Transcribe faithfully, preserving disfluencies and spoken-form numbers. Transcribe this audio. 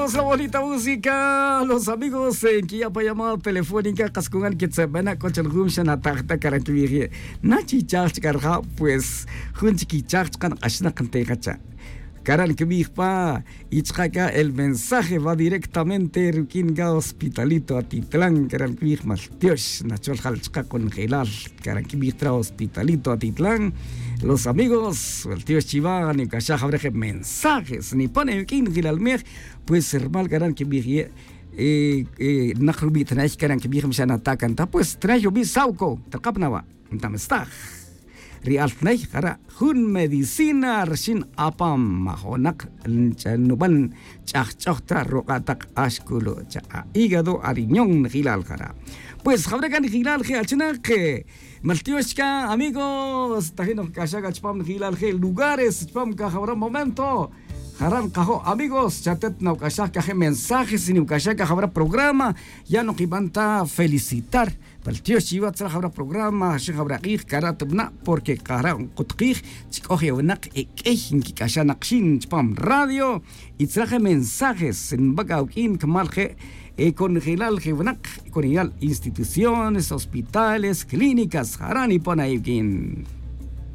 La bonita música, los amigos en que ya pa llamada telefónica cascungan que se ven a coche el gum shan atajta cara que vije nachi chach carja. Pues junchi que chach can ashna cante cacha caran que vije pa y chaka el mensaje va directamente ruquín ga hospitalito a titlan caran que vije mal tiosh nachol jal chaka con gelal caran que vije tra hospitalito a titlan. Los amigos el tiosh chiva ni cacha jabreje mensajes ni pone ruquín gelal mej. Pues hermal caran que vije eh, eh, nak rubi tnay caran que vije mixana tacan ta pues tnay rubi sauco ta capnaba. Ntamestaj ri altnay jara jun medicina rxin apam majonak nuban ch'ajch'oj ta ruq'a' tak axculu' cha a hígado a riñón nejilal jara. Pues jawre' can nejilal je' achinak maltiox chica amigos tajin nojc'axaj chupam nejilal je' lugares chupam cajawra momento. Jara' nkajo' amigos chatet nawc'axaj caje' mensajes y niwc'axaj cajawra programa. Ya' nokiban ta felicitar pal tiox chiwa tzalaj jawra programa xijawra k'ij cara' tubna' porque kara' nkutkij chi c'oj e winak e k'ey nquic'axaj nak xin chupam radio. Y tzalaj e mensajes nbac awuq'uin cumal je' e conejilal je winak conejilal instituciones hospitales clínicas jara' nipon awuq'uin.